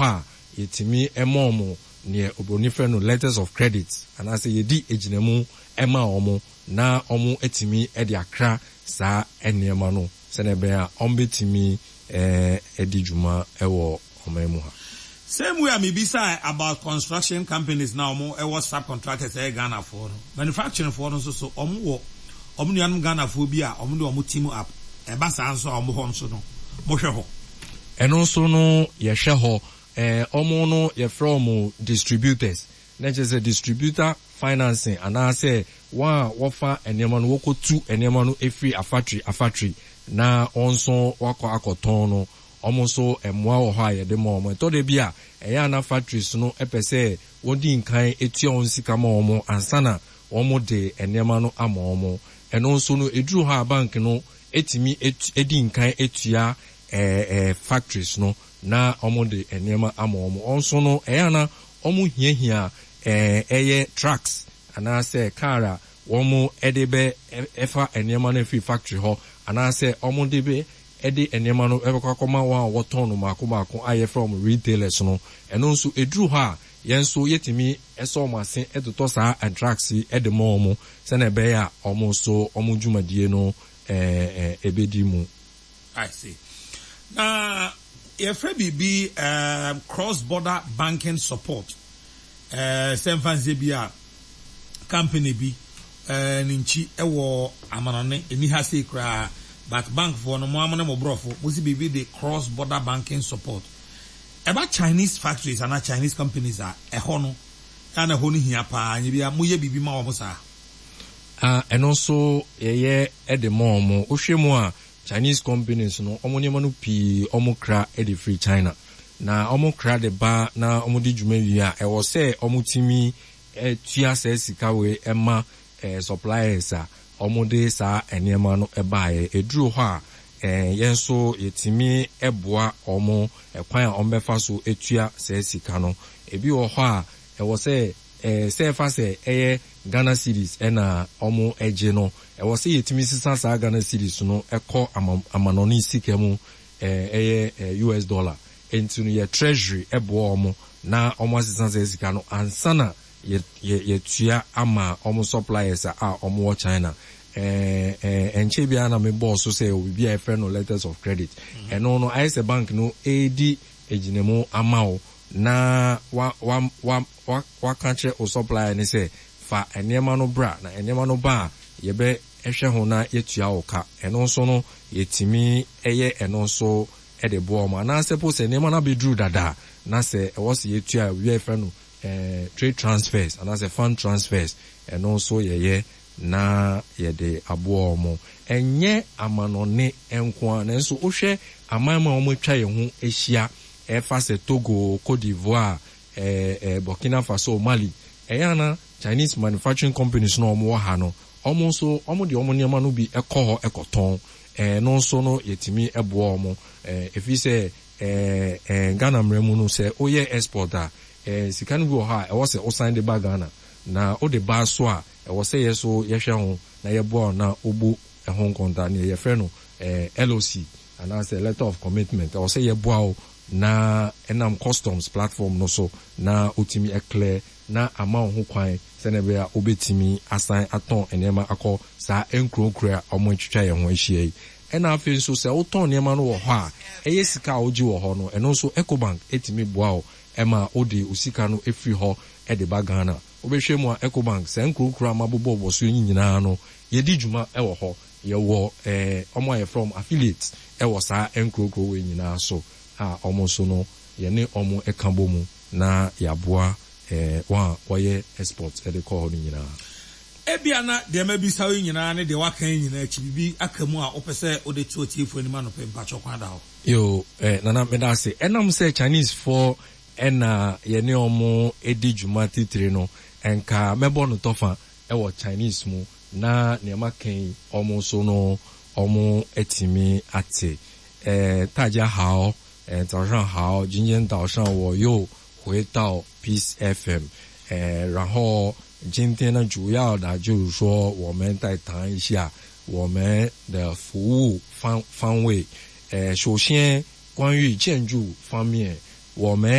hɔ a, yɛtumi ma wɔn neɛ obroni frɛ no letters of credit anaasɛ yɛdi agyinamu ma wɔn na wɔatumi de akra saa nneɛma no sɛdeɛ ɛbɛyɛ a wɔbɛtumi adi dwuma wɔ ɔman mu ha. Same way a mebisae about construction companies na wɔn wɔ sub contractors ɛyɛ Ghanafoɔ no, manufacturing foɔ no nso so wɔn wɔ wɔn nuanom Ghanafoɔ bi a wɔn de wɔn team up, ɛba saa nso a wɔn hɔ nso no mo hwɛ hɔ? Ɛno nso no yɛhwɛ hɔ, wɔn no yɛfrɛ wɔn distributors, na kyerɛ sɛ distributor financing anaasɛ wɔn a wɔfa nneɛma no wɔkɔtu nneɛma no firi afatri afatri na wɔn nso wɔakɔ akɔtɔn no, wɔn nso mmoa wɔ hɔ a yɛde ma wɔn. Ɛtɔ da bi a ɛyɛ a na factories no pɛ sɛ wɔdi nkan tua wɔn sika ma wɔn ansa na wɔde nneɛma no ama wɔn. Ɛno nso no ɛduru hɔ a bank no tumi di nkan tua factories no na wɔde nneɛma ama wɔn. Wɔn nso no ɛyɛ a na wɔhiahia ɛyɛ trucks anaasɛ car a wɔde bɛ fa nneɛma no afiri factory hɔ anaasɛ wɔde bɛ de nneɛma no bɛkɔ akɔma wɔn a wɔtɔn no mmaako mmaako a yɛfrɛ wɔn retailers no. Ɛno nso ɛduru hɔ a yɛn nso yɛtumi sɔ wɔn ase totɔ saa trucks yi de ma wɔn sɛdeɛ ɛbɛyɛ a wɔn nso wɔn dwumadie no bɛdi mu. I see. Na yɛfrɛ biribi um, cross border banking support. Uh, sɛ mfa nsɛ bi a company bi uh, ne nkyi wɔ amanɔne, ɛni ha sei koraa, but bank foɔ no, mo ara mo ne mo borɔfo, mo si biribi de cross border banking support. Ɛba Chinese factories anaa Chinese companies a, ɛhɔ no, ɛa na ɛhɔ no hia paa, nyɛ bi a moyɛ biribi ma wɔn saa. Ah, ɛno nso yɛyɛ de ma wɔn. Wohwɛ mu a, Chinese companies no wɔn nneɛma no pii wɔn kra de firi China. Na wɔn kra de ba na wɔn di dwuma wie a, ɛwɔ sɛ wɔn tumi tua saa sika wei ma suppliers a wɔn de saa nneɛma no baeɛ. Ɛduru hɔ a, yɛn nso yɛtumi boa wɔn kwan a wɔn bɛfa so atua saa sika no. Ebi wɔ hɔ a, ɛwɔ sɛ Sɛ ɛfa sɛ ɛyɛ Ghana cedis na wɔgye no, ɛwɔ sɛ yɛtumi sesa saa Ghana cedis no kɔ amanɔne sika mu, ɛyɛ US dollar. Nti no yɛ treasury boa wɔn na wɔasesa saa sika no ansa na yɛatua ama wɔn suppliers a wɔwɔ China. Ɛnkyɛe biara na mebɔɔ so sɛ yɛwɔ biribi a yɛfrɛ no letters of credit. Ɛno no ayɛ sɛ bank no redi agyinamu ama wo na wa wa wa wa waka akyerɛ wo supplier no sɛ fa nneɛma no bra na nneɛma no ba a yɛbɛ hwɛ ho na yɛatua wo ka. Ɛno nso no yɛtumi yɛ ɛno nso de boa wɔn. Anaasɛ po sɛ nneɛma no abɛduru dada na sɛ ɛwɔ sɛ yɛtua a biribi a yɛfrɛ no trade transfers anaasɛ fund transfers ɛno nso yɛyɛ na yɛde aboa wɔn. Ɛnyɛ amanɔne nko ara nanso wohwɛ aman mu a wɔatwa yɛn ho ahyia ɛfa sɛ Togo, Cote d'Ivoire, Burkina Faso, Mali, ɛyɛ a na Chinese manufacturing companies no a wɔwɔ ha no, wɔn nso wɔde wɔn nneɛma no bi kɔ hɔ kɔtɔn. Ɛno nso no yɛtumi boa wɔn. Ɛfiri sɛ Ghana mmara mu no sɛ woyɛ export a, sika no bi wɔ hɔ a ɛwɔ sɛ wosan de ba Ghana. Na wode ba nso a, ɛwɔ sɛ yɛn nso yɛhwɛ ho na yɛboa wo na wobu ɛho nkontaa, nea yɛfrɛ no LOC anaasɛ letter of commitment. Ɛwɔ sɛ yɛboa wo na ɛnam customs platform no so na wotumi clear na ama wo ho kwan sɛnea ɛbɛyɛ a wobɛtumi asan atɔn nneɛma akɔ saa nkuro nkuro a wɔatwitwa yɛn ho ahyia yi. Ɛna afei nso sɛ wotɔn nneɛma no wɔ hɔ a, ɛyɛ sika a wogye wɔ hɔ no, ɛno nso Ecobank tumi boa wo ma wode wo sika no firi hɔ de ba Ghana. Wobɛhwɛ mu a, Ecobank, saa nkuro nkuro a mabobɔbobɔ so yi nyinaa no, yɛdi dwuma wɔ hɔ. Yɛwɔ wɔn a yɛfrɛ wɔn affiliates wɔ saa nkuro nkuro wei nyinaa so a wɔn nso no, yɛne wɔn ka bɔ mu na yɛaboa wɔn a wɔyɛ export de kɔ hɔ no nyinaa. Ebia na deɛ mabisa wo yi nyinaa ne deɛ woaka yi nyinaa akyi, biribi aka mu a wopɛ sɛ wode to atiefoɔ anim anɔpa yi, mpakyɛw kwan da hɔ. Yoo, Nana meda ase. Ɛnam sɛ Chinese foɔ na yɛne wɔn di dwuma titire no, nka mɛbɔ no tɔfa wɔ Chinese mu na nea maka yi wɔn nso no wɔatumi ate. 大家好， 早上好， 今天早上我又回到 Peace FM， 然后今天呢， 主要的就是说我们再谈一下我们的服务方方位。 首先关于建筑方面， 我们。